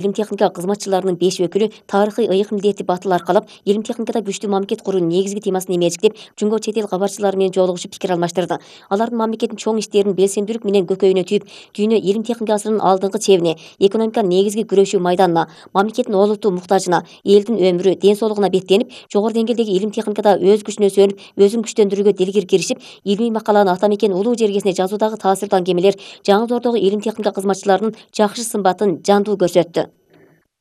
Илим техника кызматчыларынын 5 өкүлү тарыхый ыйык милдети батыл аркалап, илим техникада күчтүү мамлекет куруу негизги темасын эмечиктеп, жумго чет эл кабарчылары менен жолугушуп пикир алмаштырды. Алардын мамлекеттин чоң иштерин белсендүүлүк менен көкөйүнө түйүп, дүйнө илим техника асырынын алдыңкы чебине, экономиканын негизги күрөшүү майданына, мамлекеттин олуттуу муктажына, элдин өмүрү, ден соолугуна беттенип, жогору деңгээлдеги илим техникада өз күчүнө сүйөнүп, өзүн күчтөндүрүүгө дилгир киришип, илимий макаланы ата мекен улуу жергесине жазуудагы таасирдуу аңгемелер жаңы доордогу илим техника кызматчыларынын жакшы сымбатын жандуу көрсөттү.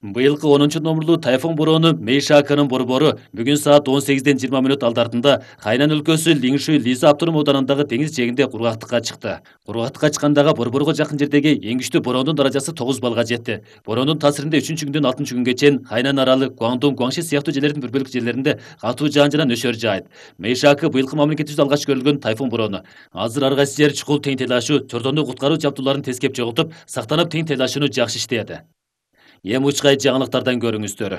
Быйылкы 10 номурлуу тайфун бороону Мейшакынын борбору бүгүн саат 18:20 алдартында Хайнан өлкөсү Лиңшуй Лиза автоном ауданындагы деңиз жээгинде кургактыкка чыкты. Кургактыкка чыккандагы борборго жакын жердеги эң күчтүү бороондун даражасы 9 балга жетти. Бороондун таасиринде 3-күндөн 6-күнгө чейин Хайнан аралы, Гуандун, Гуаңши сыяктуу жерлердин бир бөлүк жерлеринде катуу жаан жана нөшөр жаайт. Мейшакы быйылкы мамлекетибизде алгач көрүлгөн тайфун бороону. Азыр ар кайсы жер чукул тең тейлашуу, чордону куткаруу жабдууларын тескеп жоготуп, сактанып тең тейлашууну жакшы иштейт. Эми учкай жаңылыктардан көрүңүздөр.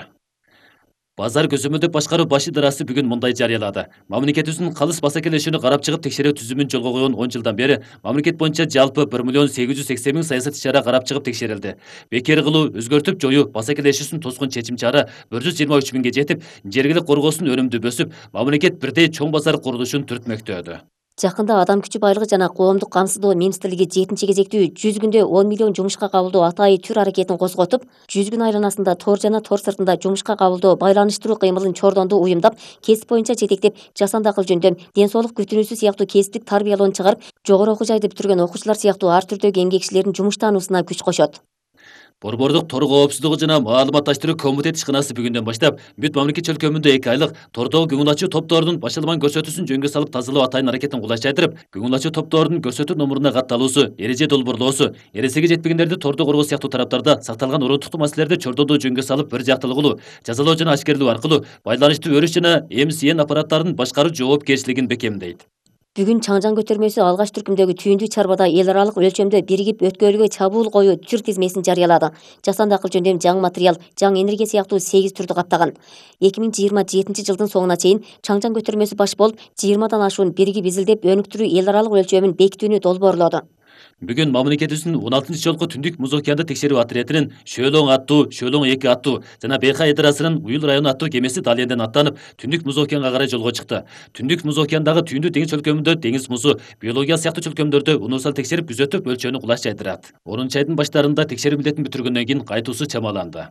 Базар көзөмөлдөп башкаруу баш идарасы бүгүн мындай жарыялады. Мамлекетибиздин калыс басакелешүүнү карап чыгып текшерүү түзүмүн жолго койгон 10 жылдан бери мамлекет боюнча жалпы 1,880,000 саясат иш-чара карап чыгып текшерилди. Бекер кылуу, өзгөртүп жоюу, басакелешүүсүн тоскон чечим чара 123.000ге жетип, жергилик коргоосунун өнүмдүү өсүп, мамлекет бирдей чоң базар курулушун түртмөктөдү. Жакында Адам күчү байлыгы жана коомдук камсыздоо министрлиги 7-кезектүү 100 күндө 10 миллион жумушка кабылдоо атайы түр аракетин козготуп, 100 күн айланасында тор жана тор сыртында жумушка кабылдоо байланыштыруу кыймылын чордондуу уюмдап, кесип боюнча жетектеп, жасанды акыл жөндөм, ден соолук күтүнүүсү сыяктуу кесиптик тарбиялоону чыгарып, жогору окуу жайды бүтүргөн окуучулар сыяктуу ар түрдөгү эмгекчилердин жумуштануусуна күч кошот. Борбордук тор коопсуздугу жана маалыматташтыруу комитет ишканасы бүгүндөн баштап бүт мамлекет чөлкөмүндө 2 айлык тордогу көңүл ачуу топторунун башаламан көрсөтүүсүн жөнгө салып тазалоо атайын аракетин кулайчайтырып, көңүл ачуу топторунун көрсөтүү номуруна катталуусу, эреже долбоорлоосу, эресеге жетпегендерди тордо коргоо сыяктуу тараптарда сакталган уруттуктуу маселелерди чордондоо жөнгө салып бир жактылыгылуу, жазалоо жана ашкерлөө аркылуу байланыштуу өрүш жана МСН аппараттарынын башкаруу жоопкерчилигин бекемдейт. Бүгүн Чаңжаң көтөрмөсү алгач түркүмдөгү түйүндүү чарбада эл аралык өлчөмдө биригип өткөлгө чабуул коюу түр тизмесин жарыялады. Жасанды акыл жөндөм, жаңы материал, жаңы энергия сыяктуу 8 түрдү каптаган. 2027 жылдын соңуна чейин Чаңжаң көтөрмөсү баш болуп, 20дан ашуун биригип изилдеп өнүктүрүү эл аралык өлчөмүн бекитүүнү долбоорлоду. Бүгүн мамлекетибиздин 16 жолку Түндүк Муз океанды текшерүү отрядынын Шөөлөң аттуу, Шөөлөң 2 аттуу жана Бейхай идарасынын Уюл району аттуу кемеси Далиенден аттанып, Түндүк Муз океанга карай жолго чыкты. Түндүк Муз океандагы түйүндүү деңиз чөлкөмүндө деңиз музу, биология сыяктуу чөлкөмдөрдү унусал текшерип күзөтүп өлчөөнү кулайчайтырат. 10 айдын баштарында текшерүү милдетин бүтүргөндөн кийин кайтуусу чамаланды.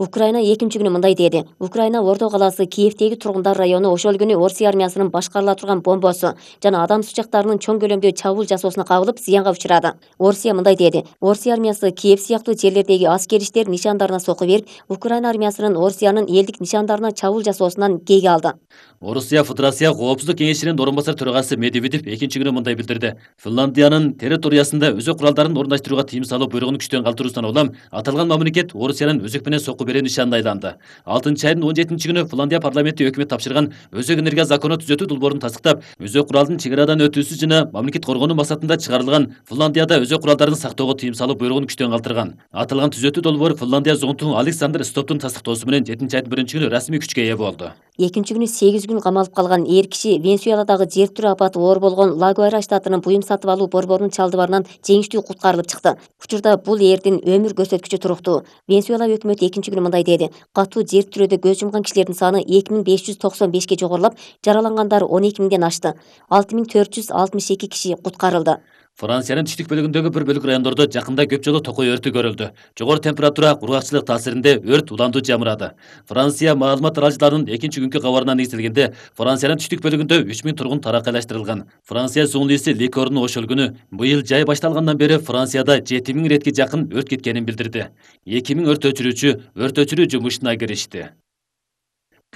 Украина 2 күнү мындай деди. Украина Ордо калаасы Киевдеги тургундар району ошол күнү Орусия армиясынын башкарыла турган бомбосу жана адам сучактарынын чоң көлөмдүү чабуул жасоосуна кабылып, зыянга учурады. Орусия мындай деди. Орусия армиясы Киев сыяктуу жерлердеги аскери иштер нишандарына сокку берип, Украина армиясынын Орусиянын элдик нишандарына чабуул жасоосунан кейге алды. Орусия Федерация Коопсуздук кеңешинин орун басар төрагасы Медведев 2 күнү мындай билдирди. Финляндиянын территориясында өзөк куралдарын орундаштырууга тыйым салуу буйругун күчтөн калтыруусунан улам аталган мамлекет Орусиянын өзөк менен сокку берүү нишанына айланды. 6 айдын 17 күнү Финляндия парламенти өкмөт тапшырган өзөк энергия закону түзөтүү долбоорун тастыктап, өзөк куралдын чек арадан өтүүсү жана мамлекет коргонуу максатында чыгарылган Финляндияда өзөк куралдарын сактоого тыйым салуу буйругун күчтөн калтырган. Аталган түзөтүү долбоор Финляндия зонту Александр Стоптун тастыктоосу менен 7 айдын 1 күнү расмий күчкө ээ болду. 2 күнү 8 күн камалып калган эр киши Венесуэладагы жер тирөө апаты оор болгон Лагуайра штатынын буюм сатып алуу борборунун чалдыбарынан жеңиштүү куткарылып чыкты. Учурда бул эрдин өмүр көрсөткүчү туруктуу. Венесуэла өкмөтү 2 күнү мындай деди. Катуу жер тирөөдө көз жумган кишилердин саны 2595ке жогорулап, жаралангандар 12.000ден ашты. 6462 киши куткарылды. Франциянын түштүк бөлүгүндөгү бир бөлүк райондордо жакында көп жолу токой өртү көрүлдү. Жогору температура, кургакчылык таасиринде өрт уландуу жамырады. Франция маалымат аралыктарынын 2 күнкү кабарына негизделгенде, Франциянын түштүк бөлүгүндө 3000 тургун таракайлаштырылган. Франция журналисти Ликорну ошол күнү быйыл жай башталгандан бери Францияда 7000 иретке жакын өрт кеткенин билдирди. 2000 өрт өчүрүү жумушуна киришти.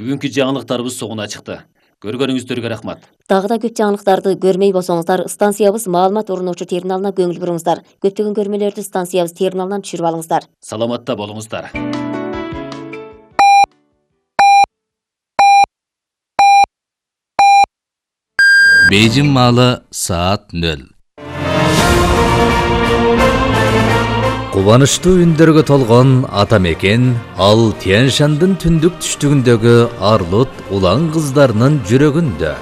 Бүгүнкү жаңылыктарыбыз соңуна чыкты. Көргөнүңүздөргө рахмат. Дагы да көп жаңылыктарды көрмөй болсоңуздар, станциябыз маалымат орунуучу терминалына көңүл буруңуздар. Көптөгөн көрмөлөрдү станциябыз терминалынан түшүрүп алыңыздар. Саламатта болуңуздар. Бейжин маалы саат 0. Кубанычтуу үндөргө толгон ата мекен ал Тянь-Шандын түндүк түштүгүндөгү арлут улан кыздарынын жүрөгүндө.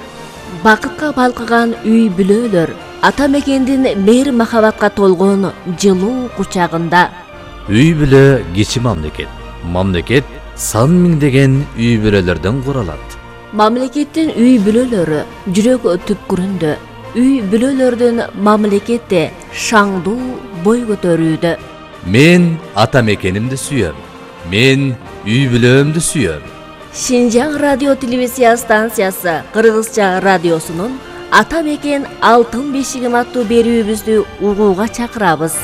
Бакытка балкыган үй бүлөлөр ата мекендин мейир махабатка толгон жылуу кучагында. Үй бүлө кичи мамлекет. Мамлекет сан миңдеген үй бүлөлөрдөн куралат. Мамлекеттин үй бүлөлөрү жүрөк түпкүрүндө. Үй бүлөлөрдүн мамлекетте шаңдуу бой көтөрүүдө. Мен ата мекенимди сүйөм. Мен үй бүлөмдү сүйөм. Шинжаң радио телевизия станциясы Кыргызча радиосунун Ата мекен алтын бешигим аттуу берүүбүздү угууга чакырабыз.